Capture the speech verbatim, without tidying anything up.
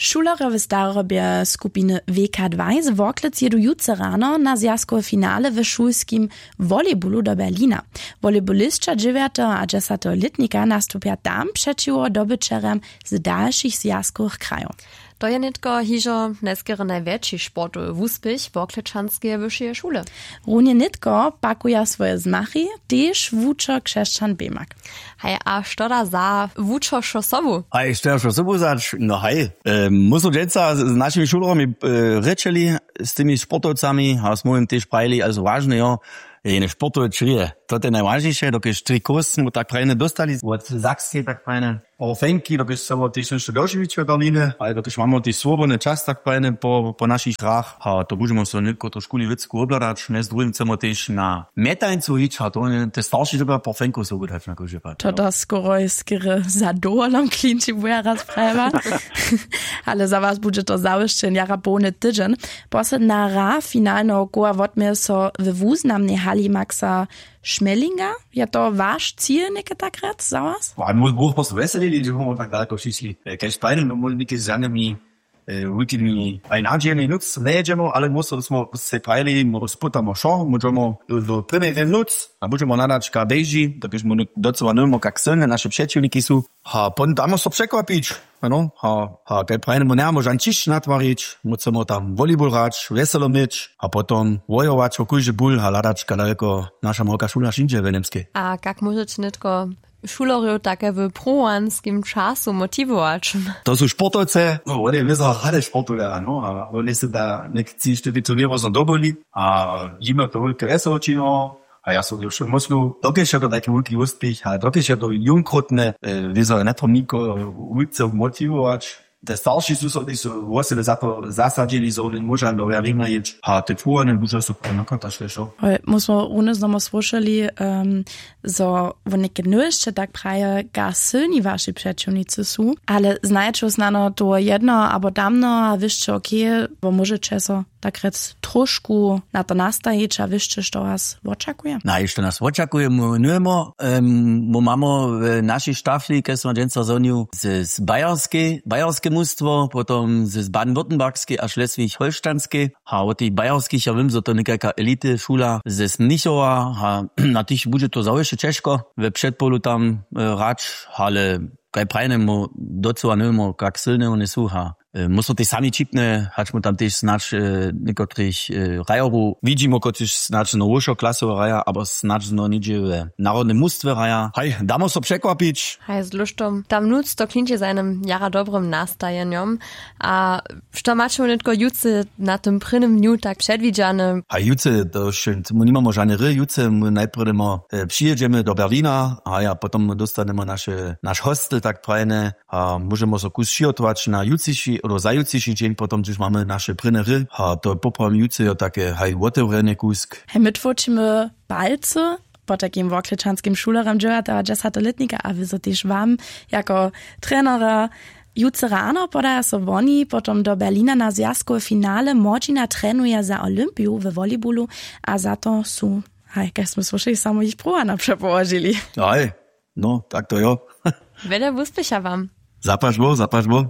Šulerjo w starobje skupiny wk dwaj z worklec jědu jutře rano na zwjazkowe finale w šulskim volejbulu do berlina. Volejbulisća dźewjateho a dźesateho lětnika nastupja tam přećiwo dobyćerjam z dalšich zwjazkowych krajow. To je nětko hižo njeskerje najwjetši sportowy wuspěch worklečanskeje wyšeje šule. Runje nětko pakuja swoje zmachi tež wučer křesćan bemak. Haj, a što da za wučeršo sobu? Haj, što da šo sobu zać? No haj, e, my su dźensa z našimi šulerjami e, rěčeli, z tymi sportowcami a smy jim tež prajili, also wažne jo, jene sportowe črije, to je najwažniše, dokelž trikos mu tak prajene dóstali wot zakske tak prajene, po fenki dokelž se wot tež nešto dožiwić w berline, ale dokelž mamy tež swobodny čas tak prajene po po našich hrach a to budźemo so nětko to škuli wěcku wobhladać, mjez druhim chcemy tež na mjetańcu hić a to te starši dyrbja po fenku so wudać na kóždy pad. To da skoroj skerje za dowolom klinči buja raz prajwa. Ale za was budźe to zawěsće jara połny tydźeń. Posledna hra finalneho koła wotměje so we wuznamnej hali maxa šmelinga. Je to waš cil něke tak rjec za was? Mój bóh postu weselili dźe móhło tak daleko přišli. Kež tajne no móhli něke z janymi wulkimi aj nadźijemi nóc njejědźemo ale móhło smo se prajili móhło spótamo wšo móžemo do prěmej nóc a budźemo hladać ka běži dokelž móhło docyła nowimo kak sylne naše přećiwniki su. Ha pon damo so překwapić. Ano, ha ha kaj prajnemo njemóžan ćišć natwarić, móhło tam volejbol hrać wjeselo měć a potom wojować wo kóždy bul ha hladać ka daleko naša małka šula šindźe w němskej. A kak móžeće nětko šulerjow take w pruwanskim času motiwować? To su sportowce, no wone wězo rady sportuja no a wone se da něk tři štyri turněro so dobyli a jima to wulke wjeselo činiło. A ja so wšo móslu dokelž je to tajki wulki wuspěch a dokelž je to jónkrótne wězo njetrobniko wulce motiwować. Te starši su so tež wosebje za to zasadźili zo wone móža do wjawina jěć a te pruwany budźa so ponakataš wšo. Hoj, my smo runje znomu słyšeli zo wone knowšće tak praje gar sylni waši přećiwnicy su ale znajeće snano toho jednoho abo tamnoho a wěsće okay, wo móžeće so tak rjec trošku na to nastajić a wěsće što was wočakuje? Naj što nas wočakuje my nujemo. My mamy w našej štafli kaž smy dźensa zhonju z bajerskej bajerske mustwo potom z baden-württembergskej a šleswig holštanskej. A wot tych bajerskich ja wěm zo to někajka elity šula z mnichowa a na tych budźe to zawěsće ćežko we předpolu tam hrać. Ale kaj prajnemo docyła nujemo kak sylne wone su ha. Móhło tež sami ćipne hač my tam tež snadź někotrych hrajerow widźimo kotřiž snadź znowu wšo klasowe hraja abo snadź znowu něhdźe w narodnym mustwje hraja haj damo so překwapić. Haj z luštom tam nutř to klinči za jenym jara dobrym nastajenjom. A što maće wone nětko jutře na tym prěnym dnju tak předwidźane? Haj jutře to wšo my nimamo žane hry jutře my najprjedy my přijědźemy do berlina a ja potom my dóstanemy naše naš hostel tak prajene a móžemo so kus přihotować na jutřiši abo za jutřiši dźeń potom hdyž mamy naše prěnje hry a to poprawom jutře jo take haj wotewrjene kusk. Haj my tłóčimy palcy potajkim worklečanskim šulerjam dźewjateho a dźesateho lětnika a wězo tež wam jako trenera. Jutře rano podaja so woni potom do berlina na zwjazkowe finale młodźina trenuje za olympiju we volleybolu. A za to su haj kaž smy słyšeli samo jich pruwano přepołožili. Haj no tak to jo. Wjele wuspěcha wam. Zapaš bóh zapaš bóh.